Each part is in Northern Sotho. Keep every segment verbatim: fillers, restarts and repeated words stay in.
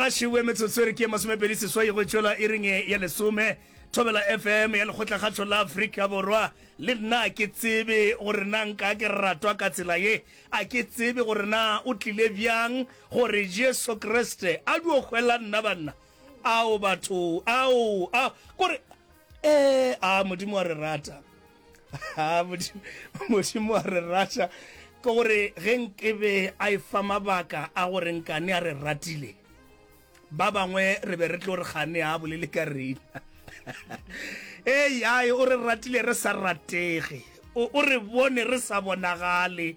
Gašiwe metsotso e re ke masomepedi seswai go tšwela iring ya lesome. Thobela F M ya Lekgotlakgatšo la Afrika Borwa. Le nna a ke tsebe gore na nka ke ratwa ka tsela ye. A ke tsebe gore na o tlile bjang gore Jesu Kriste a dio hwela nna banna. Ao batho, ao, ao, kore, ee, a Modimo wa re rata. A Modimo, Modimo wa re rata. Ke gore ge nkebe a efa mabaka a gore nkane a re ratile, ba bangwe re be re tlo re gane a bolele ka rena. Ei, ai, o re ratile re sa ratege. O, o re bone re sa bonagale.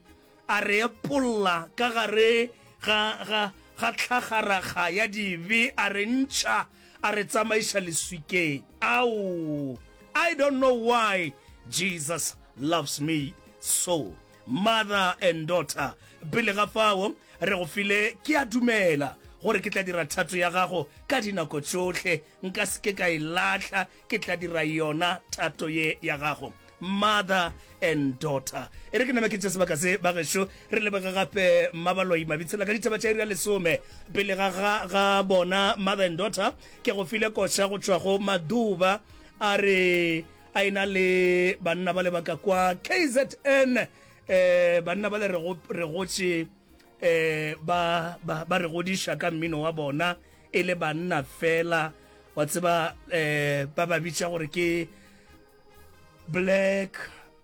A re epolla ka gare ga, ga, ga tlhagaraga ya dibe, a re ntšha, a re tsamaiša leswikeng. Ao, I don't know why Jesus loves me so. Mother and Daughter. Pele ga fao, re go file, ke a dumela gore ke tla dira thato ya gago ka dinako tšohle, nka se ke ka e lahla, ke tla dira yona thato ye ya gago. Mother and Daughter. E re ke name ke tše sebaka se, bagešo, re lebege gape Mmabaloi Mabitsela ka ditaba tša iri ya lesome. Pele ga ga ga bona Mother and Daughter, ke go file koša go tšwa go Maduba, a re a ena le banna ba le ba ka kwa K Z N, eh banna ba le re go re gotše, eh ba ba ba re godiša ka mmino wa bona e le banna fela, wa tseba, eh ba ba bitša gore ke Black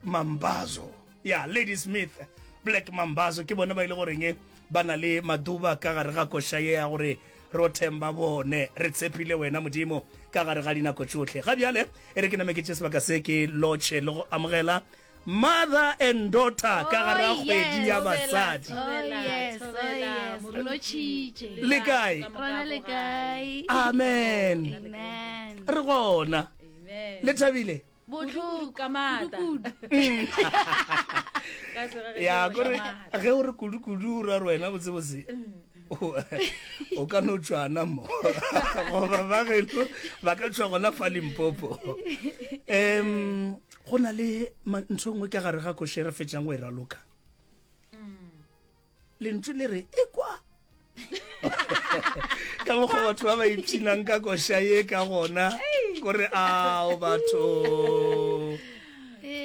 Mambazo ya Ladysmith Black Mambazo. Ke bona ba ile goreng ba na le Maduba ka gare ga koša ye ya gore ro themba bone, re tshepile wena Modimo ka gare ga dinako tšohle. Ga bjale e re ke name ke tše sebaka se ke lotšhe le go amogela Mother and Daughter ka gare ga kgwedi ya basadi. Oh yes, oh yes. Re lotšhitše. Le kae? Rona le kae? Amen. Amen. Re gona. Le thabile? Botlhoko ka maatla. Kudu. Ka sega ge Ya ke kore maatla. Ge o re kudu-kudu o ra re wena botsebotse o o ka no tšwana mo goba ba geno ba ka tšwa gona fa Limpopo. um go na le ma- ntho e nngwe ka gare ga koše re fetšang go e raloka, lentšu le re e kwa ka mokgwa batho ba ba ipshinang ka koša ye ka gona, kore ao batho.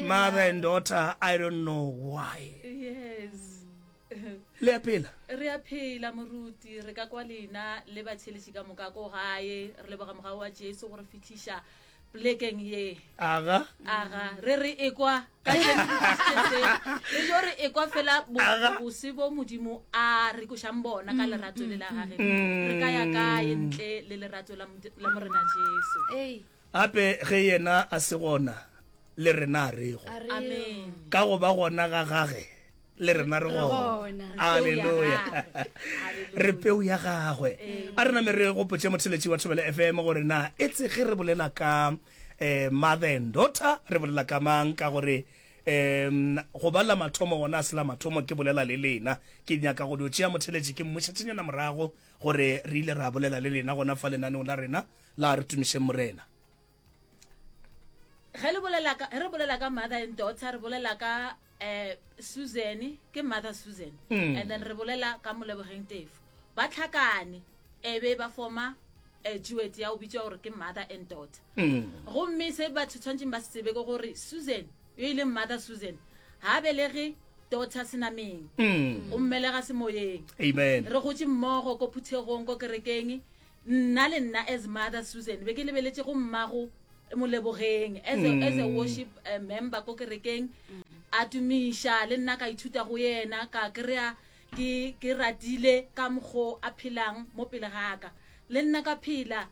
Mother and Daughter, I don't know why. Yes. Le a phela? Re a phela, moruti. Re ka kwa lena le batheletši ka moka ko gae. Re leboga mogau wa Jesu gore fitlhiša polekeng ye. Aga. Aga re re ekwa ka jeno re tlisitše se. Re jo re ekwa fela bo- Aga. bose bo Modimo a re košang bona ka lerato le la gage. Re ka ya kae ntle le lerato la Modi- la Morena Jesu? Ei, Gape ge yena a se gona, le rena a rego. A re Amen. Ka go ba gona ga gage, le rena re re gona. Gona. Alleluya, re peu ya gagwe. A re name re gopotše motheletši wa Thobela F M gore na e tse ge re bolela ka um Mother and Daughter re bolela ka mang, ka gore um go ba la mathomo gona a se la mathomo ke bolela le lena. Ke nyaka go dio tšea motheletši ke mmušetšenyana morago gore re ile ra bolela le lena gona fa lenaneong la rena la Re Tumišeng Morena. Ge le bolela ka ge re bolela ka Mother and Daughter, re bolela ka eh Susan, ke Mother Susan, Mm. and then re bolela ka Molebogeng Tefo. Ba tlhakane e be ba forma eh, duet ya o bitswa gore ke Mother and Daughter. Mm. Gomme se batho tshwanetseng ba se tsebe ke gore Susan yo e leng Mother Susan ga belege daughter senameng, Mm. o mmelega semoyeng. Amen. Re gotse mmogo ko phuthegong, ko kerekeng. Nna le nna as Mother Susan be ke lebeletse go mmago Molebogeng as a, as a worship uh, member ko kerekeng, a tumiša le nna, ka ithuta go yena, ka kry-a ke ke ratile ka mokgo a phelang mo pele gaka. Le nna ka phela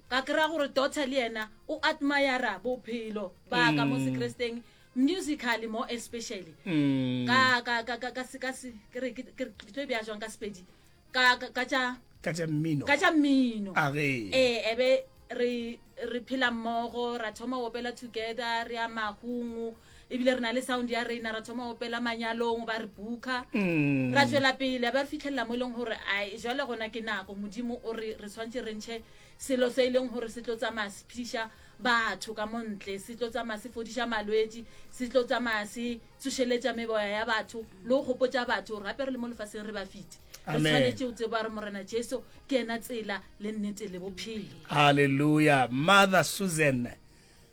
ka kry-a gore daughter le yena o admira bophelo ba ka mo sekresteng, musically more especially. Mm. ka ka ka ka ka se ka se ke re ke ke ke tlo e bea jwang ka Sepedi, ka ka ka tša ka tša mmino. Ka tša mmino. A ge. Ee, ebe re re phela mmogo, ra thoma go opela together, re ya mahungu, ebile re na le sound ya rena, ra thoma go opela manyalong, ba re booka. Mm. Ra tswela pele, a ba re fitlhelela mo e leng gore ai, jwale gona ke nako Modimo o re re tshwanetse re ntšhe selo se e leng gore se tlo tsamaya se phediša batho ka montle, se tlo tsamaya se fodiša malwetši, se tlo tsamaya se tsošeletša meboya ya batho le go gopotša batho gore gape re le mo lefaseng re ba fete. Re Amen. tshwanetse go tseba gore Morena Jesu ke ena tsela le nnete le bophelo. Hallelujah. Mother Susan,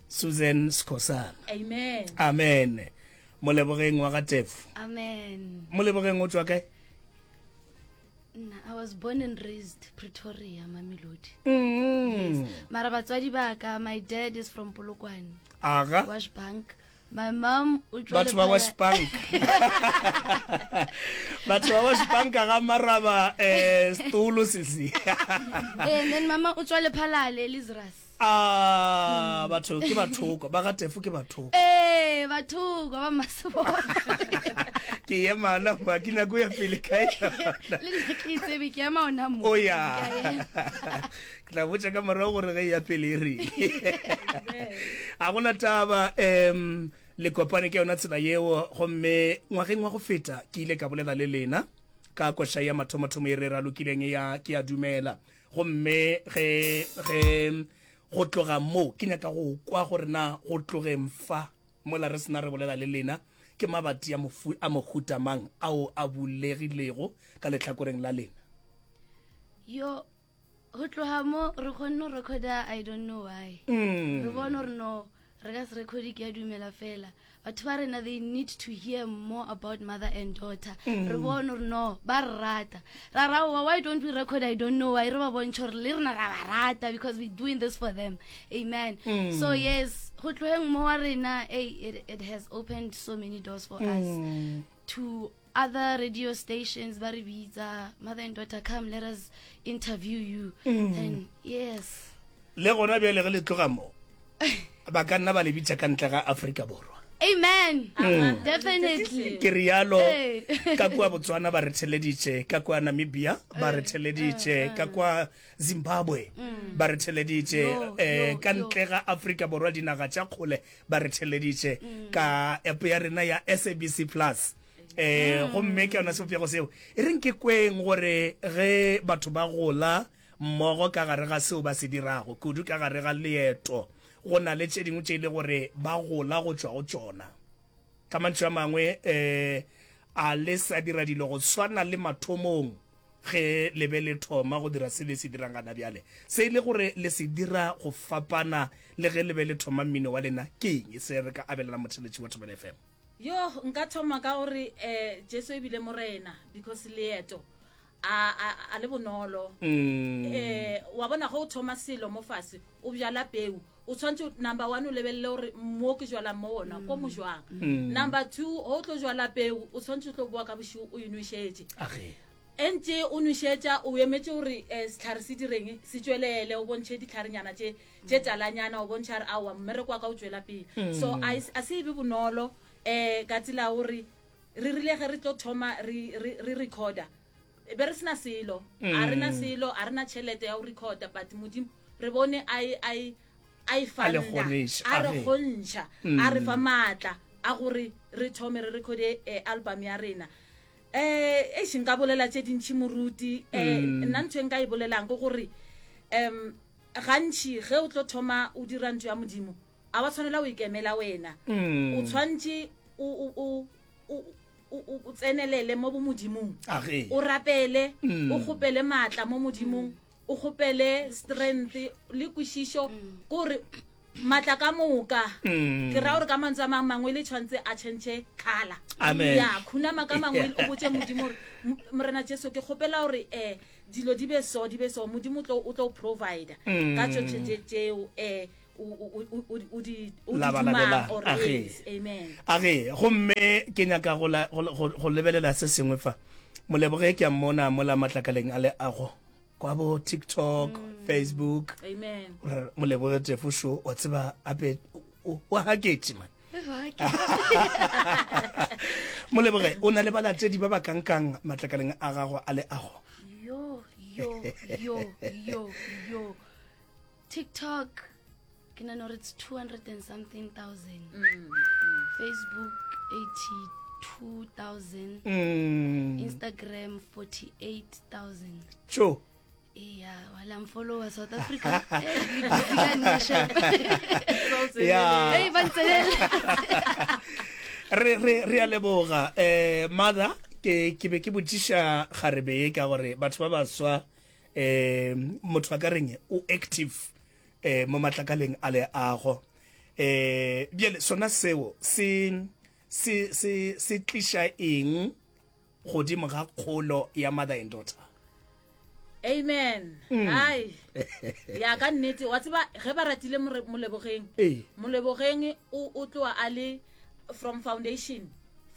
Susan Skhosana. Amen. Amen. Molebogeng wa ga Tefo. Amen. Molebogeng o tswa kae? Nna, I was born and raised Pretoria, Mamelodi. Mm. Mara batswadi ba ka, my dad is from Polokwane, Aga. Wash Bank. My mom o tswa Batho ba Lephala- Wash Bank. Batho ba Wash Bank ga maraba eh stulo sisi. Eh, and then mama o tswa Lephalale, Elizras. Ah, batho ke bathoko, ba ga Tefo ke bathoko. Eh, batho ba Masibona. Ke ema na ba ke nako ya pele kae. Le nna ke itsebe ke ema ona mo. O ya. Ke a ema. Ke tla botša ka morago gore ge e ya pele e reng. A gona taba um le kopane ke yona tsela yeo, gomme ngwageng wa go feta ke ile ka bolela le lena ka koša ya mathomothomo e re ralokileng ya ke a dumela. Gomme ge ge go tloga mo ke nyaka go kwa gore na go tlogeng fa mola re sena re bolela le lena ke mabati a mofu a mohuta mang ao a bulegilego ka lehlakoreng la lena. Yo, go tloga mo re kgonne go recorda I don't know why. Mm. Re bone gore no re ka se recorde ke a dumela fela. Batho ba rena they need to hear more about mother and daughter. Re bone gore no ba re rata. Ra ra wa why don't we record I don't know why, re ba bontšhe gore le rena ra ba rata because we doing this for them. Amen. So yes, go tlogeng mo wa rena, hey, it, it has opened so many doors for us to other radio stations ba re bitsa mother and daughter, come let us interview you. And yes. Le gona bjale ge le tloga mo ba ka nna ba le bitša ka ntle ga Afrika Borwa. Amen. Definitely. Ke rialo Ee. ka kua Botswana ba re theleditše, ka kua Namibia ba re theleditše, ka kua Zimbabwe ba re theleditše, Yo, eh yo, ka yo. ntle ga Afrika Borwa dinaga tša kgole ba re theleditše ka app ya rena ya S A B C Plus. Eh gomme ke yona sebopego seo e reng ke kweng gore ge batho ba gola mmogo ka gare ga seo ba se dirago kudu ka gare ga leeto, go na le tše dingwe tše e le gore ba gola go tšwa go tšona. Ka mantšu a mangwe eh a le sa dira dilo go swana le mathomong ge le be le thoma go dira se le se dirang gana bjale, se e le gore le se dira go fapana le ge le be le thoma mmino wa lena, ke eng se re ka abelana motheletši wa Thobela F M? Yo, nka thoma ka gore eh Jesu e bile morena because leeto a a a le bonolo. Mm. Eh wa bona go thoma selo mo fase o bjala peu, o tshwantse number one o lebelele gore mo ke jwalang mo ona ko mo jwang. Number two, ho tlo jwala peu o tshwantse o tlo boa ka boshigo o e nwešetše. Age. Ntse o nwešetša o emetse gore eh, setlhare se direng se tswelele, o bontšhe ditlharenyana tše tše talanyana, o bontšha re aowa mmereko wa ka o tswela pele. So a e- a se e be bonolo eh ka tsela ya gore re rile ge re tlo thoma re re re recorda be re sena selo, a rena selo, a rena tšhelete ya go recorda, but Modimo re bone a e- a e- a e A le fanda, kgoniša, a re age. kgontšha, a re fa maatla a gore re thome re recorde eh, album ya rena. Eh eish, nka bolela tše dintšhi moruti. Eh nna ntho e nka e bolelang ke gore um gantši ge o tlo thoma o dira ntho ya Modimo, a wa tshwanela o ikemela wena. O tshwantše o o o o o o tsenelele mo bo Modimong. Age. O rapele, o kgopele maatla mo Modimong, o kgopele strength le kwešišo kore maatla ka moka. Ke ra gore ka mantswe a mang mangwe le tshwantse a change colour. Amen. Ya, khunama ka mangwe o botse Modimo gore, M-, Morena Jesu ke kgopela gore eh dilo di be so, di be so, Modimo o tlo, o tlo provide ka tšohle tše tšeo eh o, o, o, o, o di, o di Labalabela. dumang or Age. yes. Amen. Age, gomme ke nyaka go la, go, go, go lebelela se sengwe fa. Moleboge ke a mmona mola matlakaleng a leago kwa bo TikTok, Facebook. Amen. Re Moleboge Tefo šo, wa tseba ape o, o haketše man. Moleboge, o na le balatedi ba ba kankang matlakaleng a gago a leago? Yo, yo, yo, yo, yo. TikTok, ke nahana hore it's two hundred and something thousand. Mm, Facebook, eighty-two thousand. Mm. Instagram, forty-eight thousand. Tjo. Yeah, while I'm follower South Africa. Eh, le busy ka nna, sharp. Yeah. Hey, ba ntsenela. Re, re, re a leboga. Eh, mother, ke Ke ke be ke botšiša kgarebe ye ka gore batho ba baswa um motho a ka reng o active um mo matlakaleng a leago. Um bjale sona seo se se se se tliša eng godimo ga kgolo ya mother and daughter? Amen. Ai ya ka nnete, wa tseba ge ba ratile More- Molebogeng, Ee. Molebogeng o o tloa a le from foundation,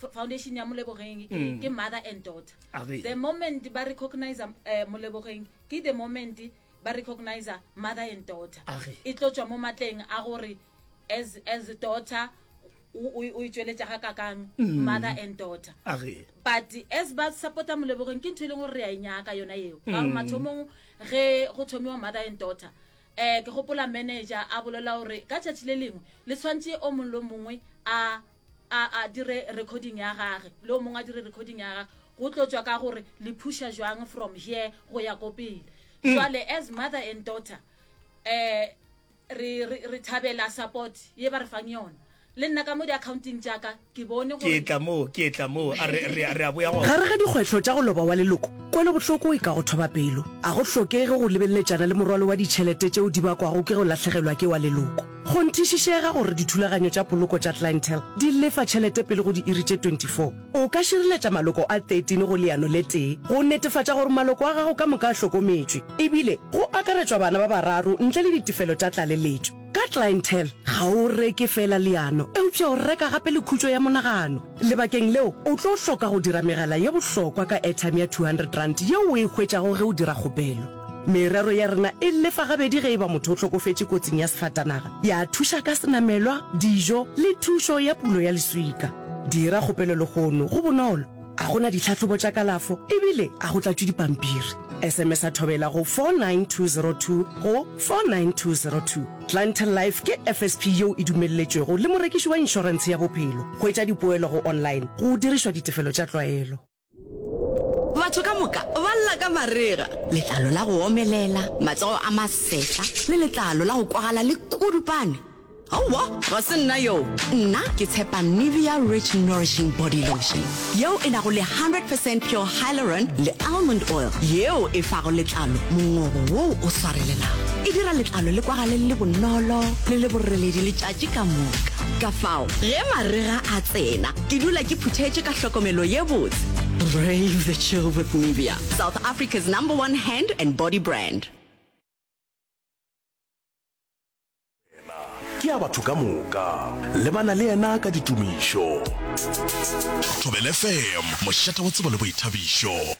F- foundation ya Molebogeng ke, ke mother and daughter. Age. The moment ba recognize uh, Molebogeng, ke the moment ba recognize mother and daughter. Age. E tlo tswa mo matleng a gore as as a daughter o o o itšweletša ga kakang mother and daughter. Age. But as ba supporta Molebogeng, ke ntho e leng gore re a e nyaka yona eo, ka gore mathomong ge go thomiwa mother and daughter, um ke gopola manager a bolela gore ka tšatši le lengwe le tshwanetse o mongwe le o mongwe a a a dire recording ya gage, le o mongwe a dire recording ya gage, go tlo tswa ka gore le pusha jwang from here go ya ko pele. Jwale as mother and daughter, um re re re thabela support ye ba re fang yona. Le nna ka mo di-accounting jaaka ke bone Ke gore tla moo, ke tla moo, a re re re a boya go. Gare ga dikgwetlho tša go loba wa leloko, kwelobohloko e ka go thoba pelo. A go hlokege go lebeletšana le morwalo wa ditšhelete tšeo di bakwago ke go lahlegelwa ke wa leloko. Kgonthišišega gore dithulaganyo tša poloko tša Clientele di lefa tšhelete pele go diiri tše twenty-four. O ka šireletša maloko a thirteen go leano le tee go netefatša gore maloko a gago ka moka a hlokometšwe, ebile go akaretšwa bana ba bararo ntle le ditefelo tša tlaleletšo. Ka Clientele ga o reke fela leano, eupša o reka gape le khutšo ya monagano. Lebakeng leo o tlo hloka go dira megala ye bohlokwa ka airtime ya two hundred rand yeo o e hwetšago ge o dira kgopelo. Merero ya rena e lefa gabedi ge e ba motho o hlokofetše kotsing ya sefatanaga, ya thuša ka senamelwa, dijo le thušo ya pulo ya leswika. Dira kgopelo lehono, go bonolo, a gona ditlhahlobo tša kalafo ebile a go tlatšwe dipampiri. S M S a thobela go four nine two zero two go four nine two zero two. Clientele Life ke F S P yeo e dumelletšwego le morekiši wa inšorentshe ya bophelo. Hwetša dipoelo go online go dirišwa ditefelo tša tlwaelo. Batho ka moka ba lla ka marega, letlalo la go omelela, matsogo a masetla le letlalo la go kwagala le kudupane. Aowa, ga se nna yo. Nna ke tshepa Nivea Rich Nourishing Body Lotion yeo e nago le hundred percent pure hyaluron le almond oil yeo e fago letlalo mongobo woo o swarelelago. E dira letlalo le kwagale le le bonolo le le boreledi letšatši ka moka. Ka fao, ge marega a tsena, ke dula ke phuthetše ka hlokomelo ye botse. Brave the chill with Nivea, South Africa's number one hand and body brand. Ke ya batho ka moka, lebana le yena ka ditumišo. Thobela F M, mošate wa tsebo le boithabišo.